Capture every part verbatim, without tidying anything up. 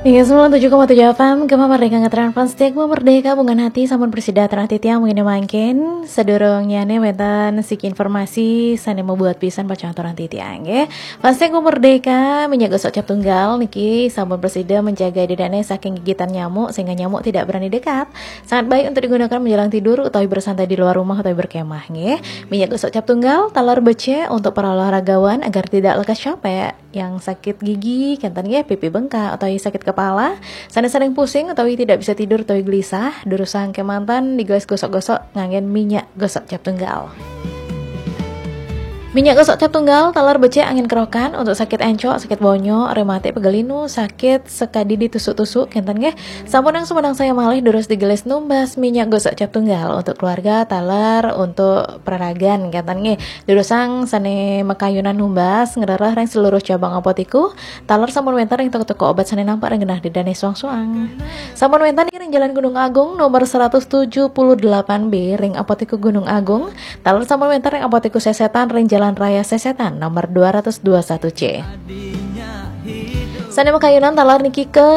Hingga sembilan tujuh koma tujuh F M, Gema Merdeka ngetren fans setia Gema Merdeka, bungan hati, sampun presida atur titiang mangkin mangkin. Sadurungnya nih wénten siki informasi sané mabuat pisan pacang aturang titiang nggih. Fans setia Gema Merdeka, minyak gosok cap tunggal niki sampun presida menjaga dadané saking gigitan nyamuk sehingga nyamuk tidak berani dekat. Sangat baik untuk digunakan menjelang tidur utawi bersantai di luar rumah utawi berkemah nggih. Minyak gosok cap tunggal taler becik untuk para olahragawan agar tidak lekas capek. Yang sakit gigi, kénten nggih, pipi bengkak, atau sakit kepala, sané sering pusing, atau tidak bisa tidur, atau gelisah, durusang kémanten digawé gosok-gosok nganggén minyak gosok cap tunggal. Minyak gosok cap tunggal taler becik anggén kerokan untuk sakit encok, sakit bonyok, rematik, pegal linu, sakit sakadi ditusuk-tusuk, kénten nggih. Sampunang sumedang saya malih durus digelis numbas minyak gosok cap tunggal untuk keluarga, taler untuk peraragan, kénten nggih. Durusang sané makayunan numbas ngrereh ring seluruh cabang apotiku, taler sampun wénten ring toko-toko obat sané nampak ring genah dadané suang-suang. Sampun wénten ring Jalan Gunung Agung nomor seratus tujuh puluh delapan B ring Apotiku Gunung Agung, taler sampun wénten ring Apotiku Sesetan ring Jalan Raya Sesetan nomor dua ratus dua satu C. Sané makayunan taler niki ke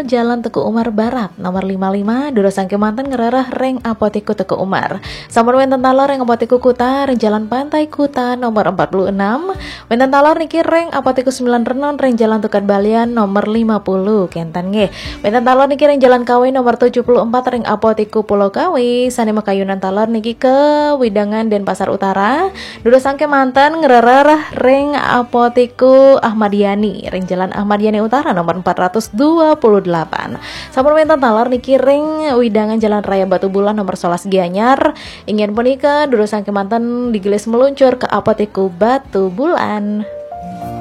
Jalan Teuku Umar Barat nomor lima lima, durusang kémanten ngrereh ring Apotiku Teuku Umar. Sampun wénten taler ring Apotiku Kuta ring Jalan Pantai Kuta nomor empat puluh enam. Wénten taler niki ring Apotiku Sembilan Renon ring Jalan Tukad Balian nomor lima puluh, kénten nggih. Wénten taler niki ring Jalan Kawi nomor tujuh puluh empat ring Apotiku Pulau Kawi. Sané makayunan taler niki ke Widangan Denpasar Utara. Durusang kémanten ngrereh ring Apotiku Ahmad Yani ring Jalan Ahmad Yani Utara nomor empat ratus dua puluh delapan. Sampun wénten taler niki ring Widangan Jalan Raya Batubulan nomor sebelas Gianyar. Inggih punika durusang kémanten digelis meluncur ke Apotiku Batubulan.